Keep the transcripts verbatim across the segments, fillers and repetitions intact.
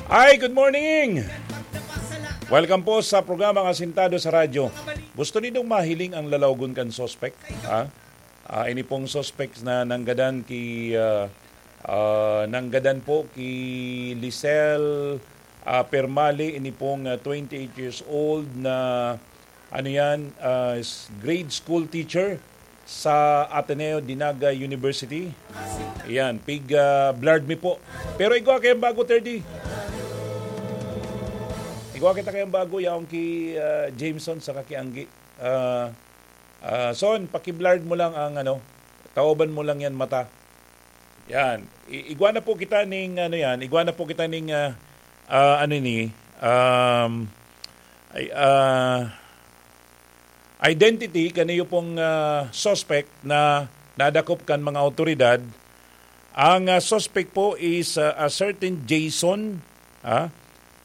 Hi, good morning! Welcome po sa programang Asintado sa Radyo. Gusto nindong mahiling ang lalawgon kan suspek? Ha? Ah, ini pong suspek na nanggadan ki, ah, ah, nanggadan po ki Lisel, ah, Permali, ini pong, ah, twenty-eight years old na, ano yan, ah, s-, grade school teacher sa Ateneo de Naga University. Yan, pig, ah, blurred mi po. Pero igwa kayong bago, thirty. Igwa kita kayong bago, yaong ki, ah, Jameson sa kakianggi. Ah, ah, Son, paki-blurred mo lang ang ano, taoban mo lang yan mata. Yan. I-, igwa na po kita ning ano yan, igwa na po kita ning, ah, ah, ano ni, um, ay, ah, identity kaniyo pong, ah, suspect na nadakop kan mga awtoridad. Ang, ah, suspect po is, ah, a certain Jason, ha?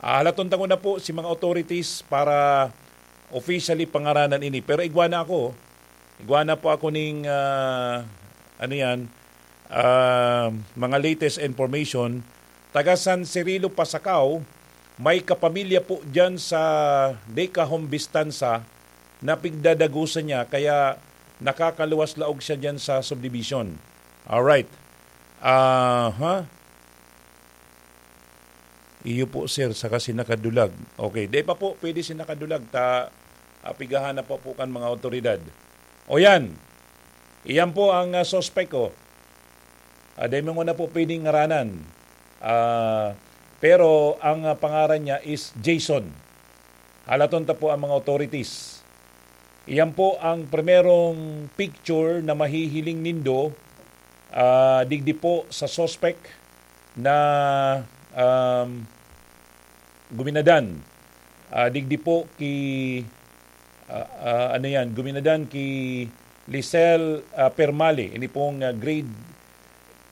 Ah, halaton ta ko na po si mga authorities para officially pangaranan ini. Pero igwa na ako. Igwa na po ako ning, ah, ano yan, ah, mga latest information. Taga San Cirilo, Pasacao, may kapamilya po dyan sa Decahom Bistanza na pigdadagusan niya, kaya nakakaluwas laog siya dyan sa subdivision. Alright. Aha. Iyo po, sir, saka si nakadulag. Okay, di pa po pwede si nakadulag, ta, ah, pigahan na po, po kan mga otoridad. O yan, iyan po ang, ah, suspect ko. Ah, dai mo na po pwedeng ngaranan. Ah, pero ang, ah, pangaran niya is Jason. Halaton ta po ang mga authorities. Iyan po ang primerong picture na mahihiling nindo, ah, digdi po sa suspect na, um, guminadan. Ah, digdi po ki, ah, ah, ano yan, guminadan ki Lisel, ah, Permali, ini pong, ah, grade,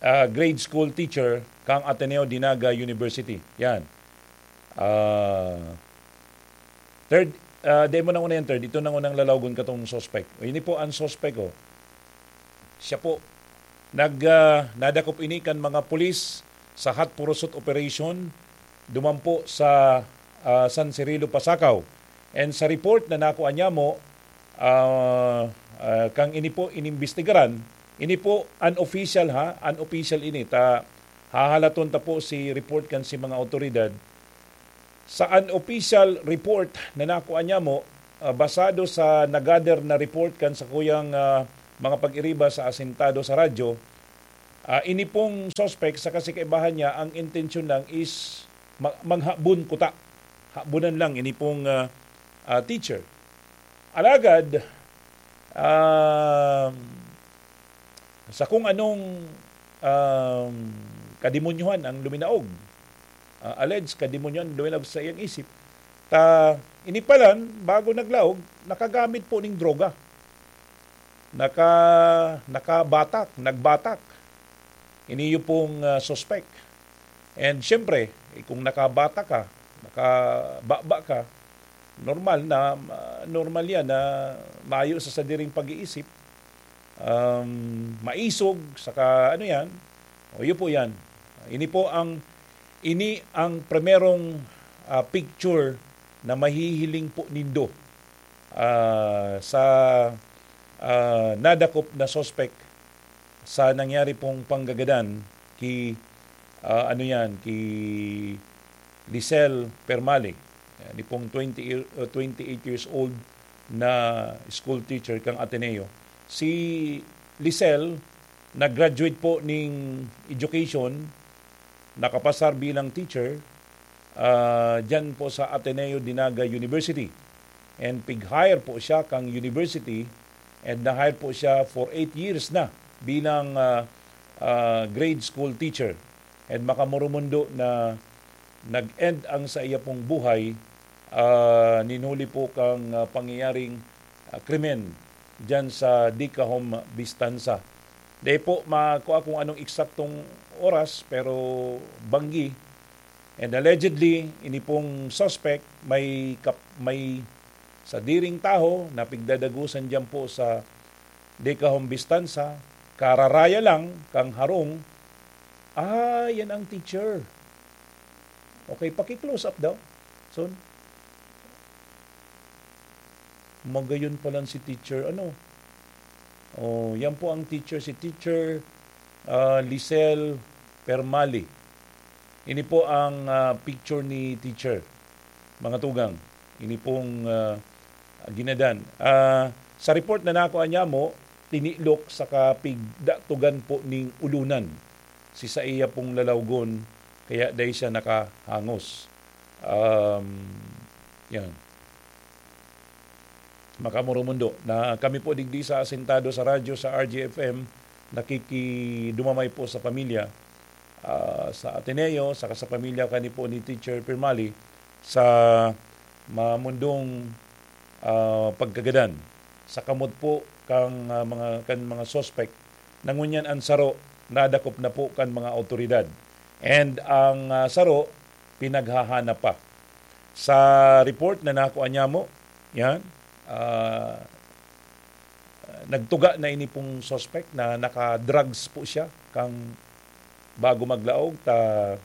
ah, grade school teacher kang Ateneo de Naga University. Yan. Ah, third, ah, di mo na una yan, third. Ito nang unang lalawgon katong suspect. O, ini po ang suspect, oh. Siya po, nag, ah, nadakop ini kan mga pulis sa hot pursuit operation duman po sa, ah, San Cirilo, Pasacao. And sa report na nakuha niya mo, ah, ah, kang ini po inimbestigaran, ini po unofficial ha, unofficial ini. Ta, hahalaton ta po si report kan si mga otoridad. Sa unofficial report na nakuha niya mo, ah, basado sa nagather na report kan sakuyang, ah, mga pag-iriba sa asintado sa radyo, ah, ini pong suspect sa kasikaibahan niya, ang intensyon lang is ma-, maghabon kuta. Habonan lang ini pong, ah, ah, teacher. Alagad, um, sa kung anong, um, kademonyohan ang luminaog, ah, alleged kademonyohan luminaog sa iyang isip, ta, ini palan, bago naglaog, nakagamit po ning droga. Naka-, nakabatak, nagbatak. Ini yung pong, ah, suspect. And siyempre, eh, kung nakabatak ka, nakababa ka, normal na, ah, normal yan na mayo sa sadiring pag-iisip, um, maisog, saka ano yan, o yun po yan. Ini po ang, ini ang primerong, ah, picture na mahihiling po nindo, ah, sa, ah, nadakop na suspect sa nangyari pong panggagadan ki, ah, ano yan, ki Lisel Permali. Yan, ni pong twenty, uh, twenty-eight years old na school teacher kang Ateneo. Si Lisel, nag-graduate po ning education, nakapasar bilang teacher, ah, dyan po sa Ateneo de Naga University. And pig-hire po siya kang university, and na-hire po siya for eight years na bilang, ah, ah, grade school teacher. And makamurumundo na nag-end ang sa iya pong buhay, ah, ninuli po kang, ah, pangyayaring, ah, krimen dyan sa Dicahom Bistanza. Di po makua kung anong eksaktong oras, pero banggi. And allegedly, ini pong suspect may kap-, may sadiring taho na pigdadagusan diyan po sa Dicahom Bistanza, kararaya lang kang harong, "Ah, yan ang teacher." Okay, paki-close up daw. So, magayon pa lang si teacher, ano? Oh, yan po ang teacher, si teacher, ah, Lisel Permali. Ini po ang, ah, picture ni teacher, mga tugang. Ini pong, ah, ginadan. Ah, sa report na nakuha niya mo, tinilok sa kapigdatugan po ning ulunan si saiya pong lalawgon, kaya dai siya nakahangos. Um, yan. Makamurumundo na kami po digdi sa Asintado sa Radyo, sa R G F M, nakikidumamay po sa pamilya, ah, sa Ateneo, saka sa pamilya kani po ni Teacher Pirmali sa mamundong, ah, pagkagadan. Sa kamot po kang, ah, mga, kan mga suspect, na ngunyan ang saro nadakop na po kan mga awtoridad. And ang, ah, saro, pinaghahanap pa. Sa report na nakuha niya mo, yan, ah, nagtuga na ini pong suspect na naka-drugs po siya kang bago maglaog, ta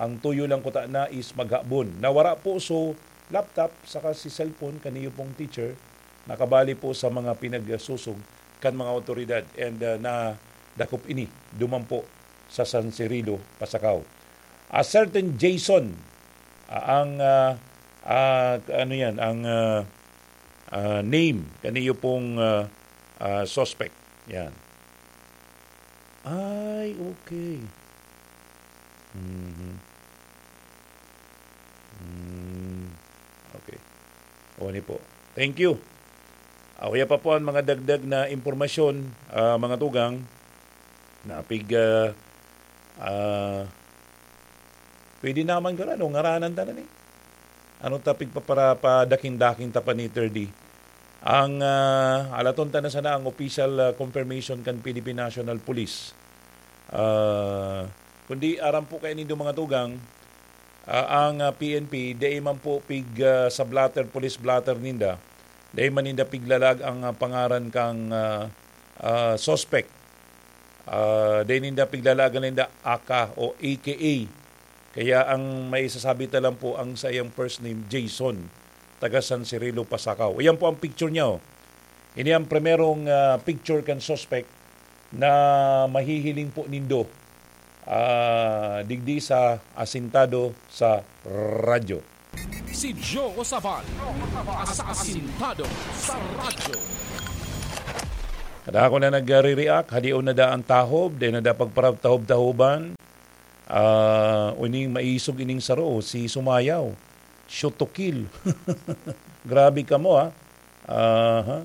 ang tuyo lang kuta na is maghabon. Nawara po so laptop saka si cellphone kaniyo pong teacher, nakabali po sa mga pinagsusog kan mga awtoridad and, ah, nadakop ini duman po sa San Cirilo, Pasacao. A certain Jason, ah, ang, ah, ah, ano yan, ang, ah, ah, name kaniyo pong, ah, ah, suspect. Yan. Ay, okay. Mhm. Mm, okay. O, ni po. Thank you. Ah, uya pa po ang mga dagdag na impormasyon, ah, mga tugang, na pig, ah, ah, pwede naman ka na, no? Ngaranan ta na ni. Ano ta, pigpapara-, padaking-daking ta pa ni thirty. Ang, ah, alaton ta na sana ang official, ah, confirmation kan Philippine National Police. Ah, kundi aram po kayo nindo, mga tugang, ah, ang, ah, P N P, dai man po pig, ah, sa blotter, police blotter ninda, dai man ninda piglalag ang, ah, pangaran kang, ah, ah, suspect. Ah, dai ninda piglalag ninda aka o A K A. Kaya ang may sasabi ta lang po ang sa iyang first name, Jason, taga San Cirilo, Pasacao. Iyan po ang picture niya, oh. Ini ang primerong, ah, picture kan suspect na mahihiling po nindo, ah, digdi sa Asintado sa Radyo. Si Joe Sabal, asasintado sa radyo. Kada ako na nagre-react, hadion na da ang tahob, dai na da pagparatahob-tahoban. Ah, uning maisog ining saro, si Sumayaw. Shoot to kill. Grabe kamo, ha? Aha.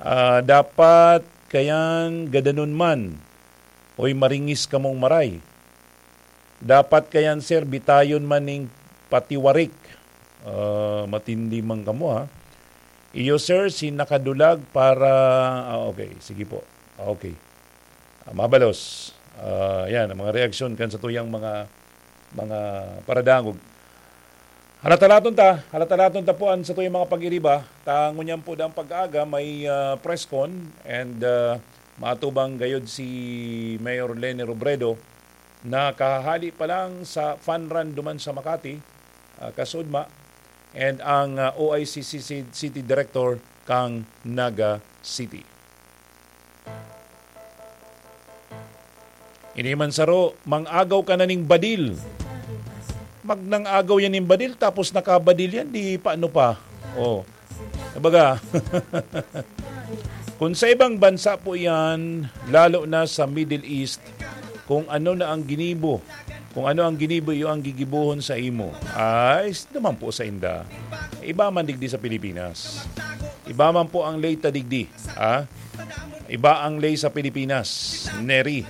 Ah, dapat kayan gadanon man. Oy, maringis kamong maray. Dapat kayan, sir, bitayon man ning patiwarik. Ah, matindi man kamo, ha? Iyo, sir, si nakadulag para, ah, okay, sige po. Okay. Ah, mabalos. Ah, yan, ang mga reaksyon kan sa tuyang mga, mga paradangog. Halatalaton ta, halatalaton ta po an sa tuyang mga pag-iriba. Ta ngunyan po dang pag-aaga, may, ah, press con and, ah, matubang gayod si Mayor Leni Robredo na kahahali pa lang sa fun run duman sa Makati, ah, kasudma, and ang, ah, O I C C City Director kang Naga City. Ini man saro, mang-agaw ka na ning badil. Magnang-agaw yan ning badil, tapos nakabadil yan, di paano pa? Oh. Kumbaga, kung sa ibang bansa po yan, lalo na sa Middle East, kung ano na ang ginibo, kung ano ang ginibo, iyo ang gigibohon sa imo. Ay, s-, naman po sa inda. Iba man digdi sa Pilipinas. Iba man po ang ley ta digdi. Ah? Iba ang ley sa Pilipinas, Neri.